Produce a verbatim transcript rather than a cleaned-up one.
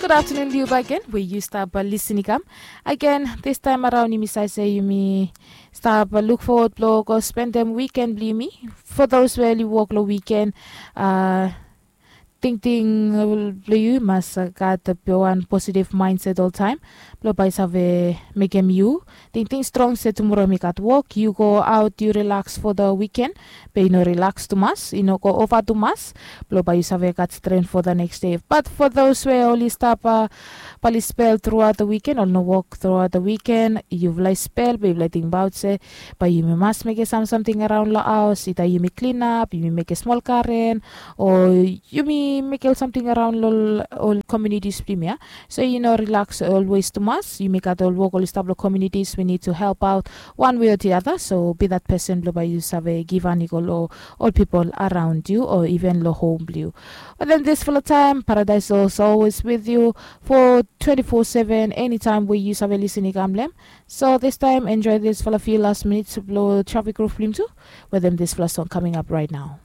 Gud aftenun blong yu bakegen we yu stap lisin i kam. Agen, distaem araon yumi save se yumi stap luk fowod blong go spendem wiken blong yumi. Fo those we oli wok long wiken, a tingting blong yu mas gat wan positiv maenset oltaem blong bae i save mekem yu tingting strong se tumora mi gat wok. Yu go aot, yu rilaks fo the wiken, be i no rilaks tumas, i no go ova tumas, blong bae yu save gat stren fo the neks de. Bat fo those we oli stap, bae oli spel truaot the wiken, oli no wok truaot the wiken, yufala i spel be yufala i tingbaot se bae yumi mas mekem sam samting araon long haos, ida yumi klinap, yumi mekem smol garen, o yumi mekem ol samting araon long ol komunitis blong yumi ya. So yu no rilaks olwes tumas. Yumi gat ol wok oli stap long komunitis, we nid tu help aot wan we o the other. So be that pesen blong bae yu save givhan i go long ol pipol araon yu o iven long hom blong yu. Wetem disfala taem, Paradais is always with yu fo twenti fo seven, enitaem we yu save lisin i kam long hem. So distaem, enjoe disfala few last minits blong trafik ruf blong yumi tu wetem disfala song coming up right now.